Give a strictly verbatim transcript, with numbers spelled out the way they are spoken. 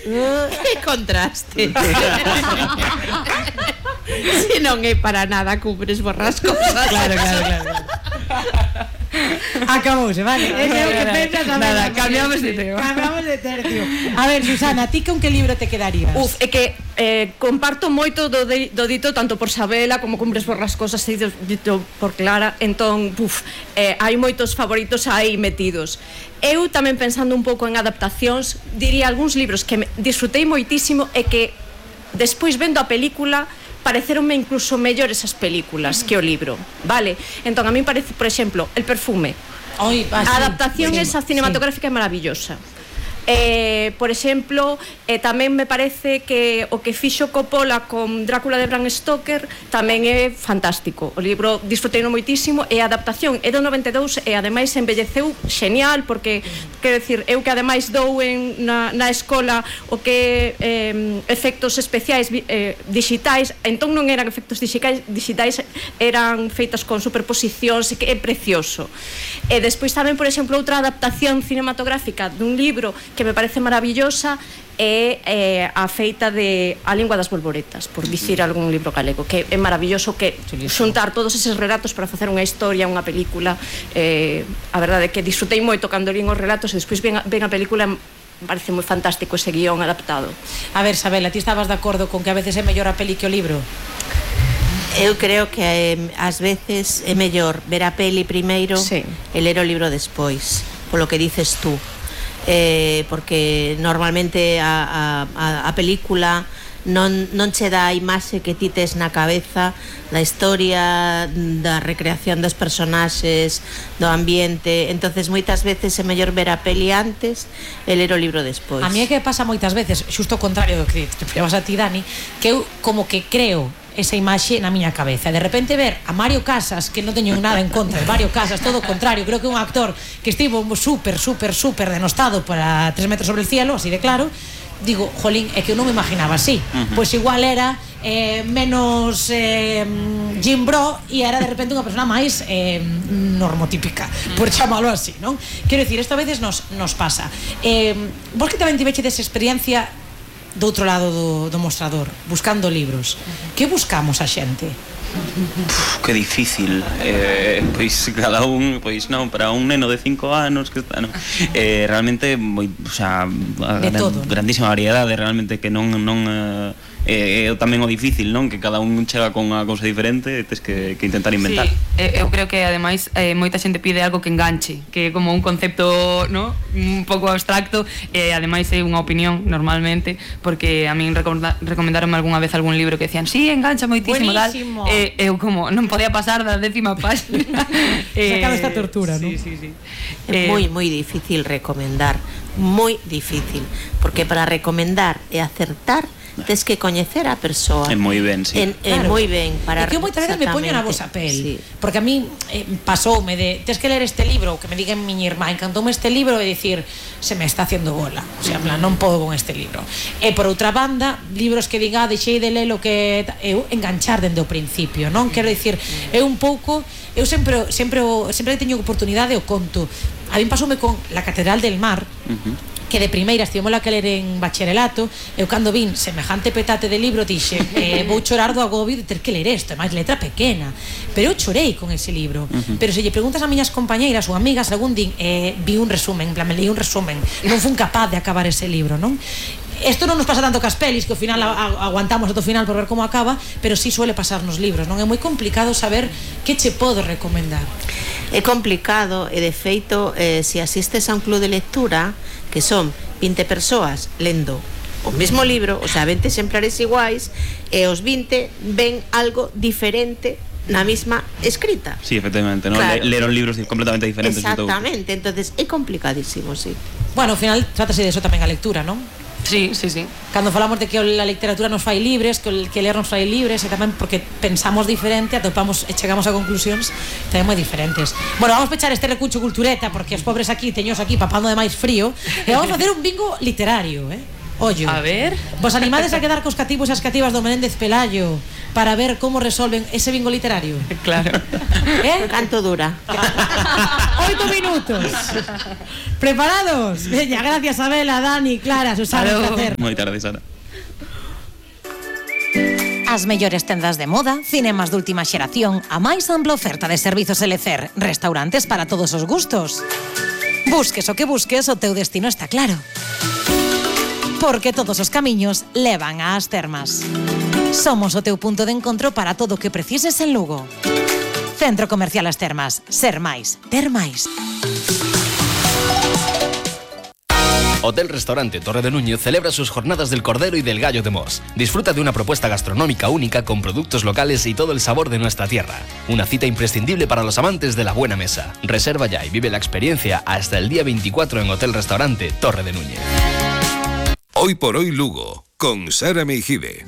Que contraste. Se non é para nada Cumbres Borrascosas. Claro, claro, claro. Acabouse, vale. Ese é o que pensas a Nada, cambiamos de tema. Cambiamos de tercio. A ver, Susana, ti con que libro te quedarías? Uf, é que eh, comparto moito do, de, do dito tanto por Sabela como Cumbres Borrascosas e dito por Clara. Entón, uf, eh, hai moitos favoritos aí metidos. Eu tamén pensando un pouco en adaptacións, diría algúns libros que me disfrutei moitísimo e que despois vendo a película pareceronme incluso mellores as películas que o libro, vale? Entón, a mí parece, por exemplo, El perfume. Oi, ah, A adaptación sí, esa cinematográfica sí. É maravillosa. Eh, por exemplo, eh, tamén me parece que o que fixo Coppola con Drácula de Bram Stoker tamén é fantástico. O libro disfruteino moitísimo e a adaptación é do noventa e dous e ademais envelleceu xenial porque, quero dicir, eu que ademais dou en, na, na escola o que eh, efectos especiais eh, digitais, entón non eran efectos digitais, digitais eran feitas con superposicións e que é precioso. E despois tamén, por exemplo, outra adaptación cinematográfica dun libro que me parece maravillosa é eh, a feita de A lingua das bolboretas, por dicir algún libro galego, que é maravilloso que xuntar todos eses relatos para facer unha historia, unha película. Eh, a verdade é que disfrutei moito cando lín os relatos e despois ven a, ven a película. Me parece moi fantástico ese guión adaptado. A ver, Sabela, ti estabas de acordo con que a veces é mellor a peli que o libro? Eu creo que eh, ás veces é mellor ver a peli primeiro sí. E ler o libro despois, polo que dices tú. Eh, porque normalmente a, a, a película non, non che dá a imaxe que ti tes na cabeza da historia, da recreación dos personaxes, do ambiente. Entonces moitas veces é mellor ver a peli antes e ler o libro despois. A mí é que pasa moitas veces, xusto o contrario do que te llevas a ti, Dani, que eu como que creo esa imaxe na miña cabeza. De repente ver a Mario Casas, que non teño nada en contra de Mario Casas, todo o contrario, creo que é un actor que estivo super, super, super denostado para Tres metros sobre el cielo, así de claro, digo, jolín, é que eu non me imaginaba así. Uh-huh. Pois igual era eh, menos eh, Jim Bro e era de repente unha persona máis eh, normotípica, por chamalo así, non? Quero dicir, isto a veces nos, nos pasa. Eh, vos que tamén tivechedes experiencia do outro lado do, do mostrador, buscando libros. Que buscamos a xente? Uf, que difícil. Eh, pois cada un, pois non, para un neno de cinco anos que está, non. Eh, realmente moi, o sea, gran, grandísima variedade, realmente que non non eh, é tamén o difícil, non? Que cada un chega con unha cousa diferente e tes que, que intentar inventar. Sí, eu creo que ademais eh, moita xente pide algo que enganche, que é como un concepto, no? Un pouco abstracto e ademais é unha opinión normalmente, porque a min recomendaronme algunha vez algún libro que decían, sí, engancha moitísimo, buenísimo. Tal. E eu como non podía pasar da décima página. eh, Sacado esta tortura, sí, ¿no? Sí, sí, sí. É eh, moi moi difícil recomendar, moi difícil, porque para recomendar e acertar tes que coñecer a persoa. É moi ben, sí. É claro. moi ben para. É que eu moitas veces me poño na vosa pel, sí. Porque a mí eh, pasoume de tes que ler este libro, que me diga miña irmá, encantoume este libro e dicir, se me está haciendo bola. O sea, en plan, non podo con este libro. E por outra banda, libros que diga, deixei de lelo que eu enganchar dende o principio, non? Quero dicir, é un pouco, eu sempre sempre sempre teño oportunidade o conto. A mí pasoume con La Catedral del Mar. Uh-huh. Que de primeira estivemos que ler en bacharelato. Eu cando vin semejante petate de libro dixe, eh, vou chorar do agobio de ter que ler isto, é máis letra pequena, pero eu chorei con ese libro. Uh-huh. Pero se lle preguntas a miñas compañeiras ou amigas, algún din, eh, vi un resumen, en plan, me leí un resumen, non fun capaz de acabar ese libro, non? Isto non nos pasa tanto cas pelis, que ao final aguantamos ata o final por ver como acaba, pero sí suele pasar nos libros, non? É moi complicado saber que che podo recomendar. É complicado e de feito, eh, se asistes a un club de lectura que son vinte persoas lendo o mesmo libro, o sea, vinte exemplares iguais, e os vinte ven algo diferente na mesma escrita. Sí, efectivamente, ¿no? Claro. Leron libros completamente diferentes. Exactamente, entonces é complicadísimo, sí. Bueno, ao final trátase de eso tamén a lectura, non? Sí, sí, sí. Cando falamos de que a literatura nos fai libres, que o que ler nos fai libres, e tamén porque pensamos diferente, atopamos e chegamos a conclusións tamén moi diferentes. Bueno, vamos pechar este recucho cultureta, porque os pobres aquí, teños aquí papando de máis frío, e vamos facer un bingo literario, eh? Ollo. A ver. Vos animades a quedar cos cativos e as cativas do Menéndez Pelayo para ver como resolven ese bingo literario? Claro. Eh? Canto dura. Oito minutos. ¿Preparados? Veña, gracias Abela, Dani, Clara, Susana, un placer. Moi tarde, Sara. As mellores tendas de moda, cinemas de última xeración, a máis ampla oferta de servizos L C R, restaurantes para todos os gustos. Busques o que busques, o teu destino está claro. Porque todos os camiños levan ás termas. Somos o teu punto de encontro para todo o que precises en Lugo. Centro Comercial As Termas. Ser máis, ter máis. Hotel Restaurante Torre de Núñez celebra sus jornadas del Cordero y del Gallo de Mos. Disfruta de una propuesta gastronómica única con productos locales y todo el sabor de nuestra tierra. Una cita imprescindible para los amantes de la buena mesa. Reserva ya y vive la experiencia hasta el día veinticuatro en Hotel Restaurante Torre de Núñez. Hoy por hoy Lugo, con Sara Meijide.